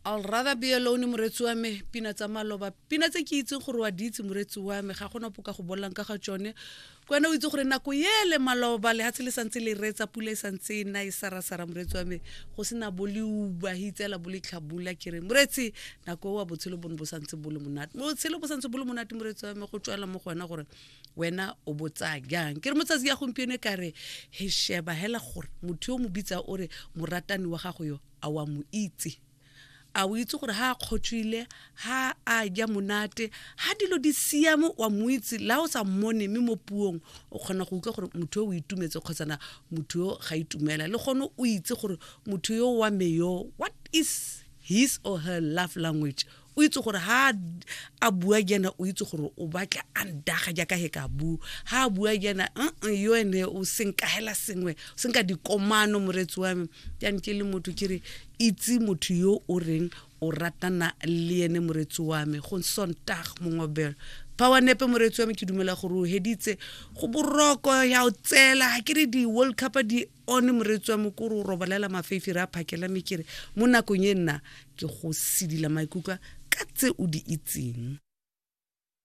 I'll rather be alone moretsi wa me pina tsa maloba pina tse ke itseng gore wa di itse moretsi wa me ga gona poka go bolelang ka ga tsone ke wena o itse gore nako ele maloba lehatshe le santse le reetsa pula e santse e na e sarasara moretsi wa me go sena bo leuba he itseela bo letlhabula ke re moretsi nako oa botshelo bone bo santse bo le monate botshelo bo santse bo le monate moretsi wa me go tswela mo go wena gore wena o bo tsaya jang ke re motsatsi ya gompieno e ka re he sheba hela gore motho yo mo bitsa o re moratani wa gago yo a wa mo itse a o itse gore ha a kgotswile ha a ja monate ha dilo di siame wa mo itse la o sa mmone mme mo puong o kgona go utlwa gore motho yo o itumetse kgotsana motho yo ga itumela le gone o itse gore motho yo wa me yo what is his or her love language o itse gore ha a bua jaana o itse gore o batla a ndaga jaaka he ka bua ha a bua jaana yo ene o senkagela sengwe o senka dikomano moretsi wa me jaanong ke le motho ke re itse motho yo o reng o ratana le ene moretsi wa me go sontag mongwabelo power nepe moretsi wa me ke dumela gore o heditse go boroko ya o tsela ga ke re di-world cup di one moreetsi wa me ko re o robalela mafefi re a phakela mme ke re mo nakong e nna ke go sedila maikutlwa ka tse o di itseng.